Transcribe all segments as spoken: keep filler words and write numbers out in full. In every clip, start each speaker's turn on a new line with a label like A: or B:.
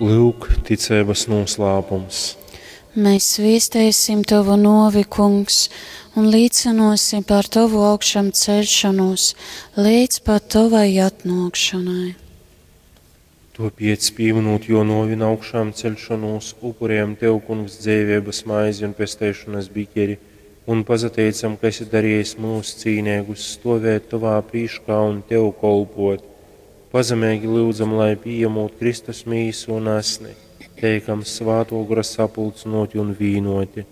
A: Lūk, ticeibas noslēpums.
B: Mēs viestēsim Tavu novi, Kungs, un līcinosim par Tavu augšām celšanos līdz pat Tavai atnākšanai.
A: Topiec pieminot jo novin augšām celšanos, upurējam Tev, Kungs, dzīvības maizi un pesteišanas biķeri, un pazateicam, ka esi darījis mūs cīnīgus stovēt Tavā prīškā un Tev kolpot. Pazemīgi lūdzam, lai pieņemot Kristus mīsu un asni, teikam svāto gara sapulcinoti un vīnoti.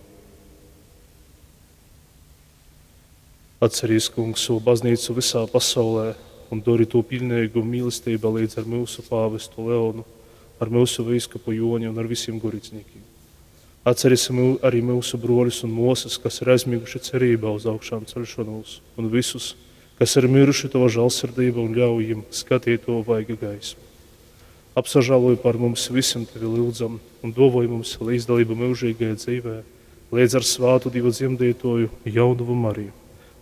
C: Atcerīs, Kungs, savu baznīcu visā pasaulē un dori to pilnīgu mīlestībā līdz ar mūsu pāvestu Leonu, ar mūsu vīskapu Joni un ar visiem gorīdzniekiem. Atceriesim arī mūsu broļus un mosas, kas ir aizmiguši cerībā uz augšām celšanos, un visus, kas ir miruši Tava žēlsirdība un ļauj viņiem skatīt to vaiga gaismu. Apsažāloj par mums visiem Tevi lūdzam un dovoj mums līdzdalību mūžīgajā dzīvē, līdz ar svātu Dievu dzemdētoju jaunuvu Mariju,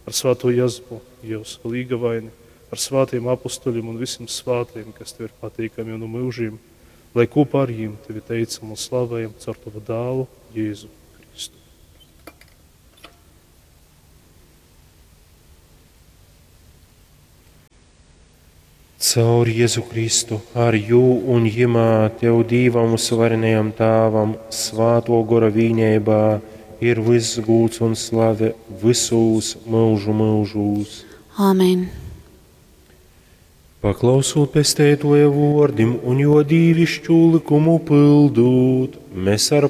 C: ar svāto Jēzupu, Dievs līgavaini, ar svātiem apustuļiem un visiem svātiem, kas Tev ir patīkami un no mūžiem, lai kopā ar viņiem Tevi teicam un slavējam caur Tavu dēlu Jēzu Kristu.
A: Caur Jēzu Kristu, ar jū un jimā Tev Dīvam uzvarenajam Tāvam, svāto gora vīnībā, ir viss gūts un slave visūs mūžu mūžūs.
B: Āmen.
A: Paklausot pestētoja vordim un jo dīvišķu likumu pildūt, mēs ar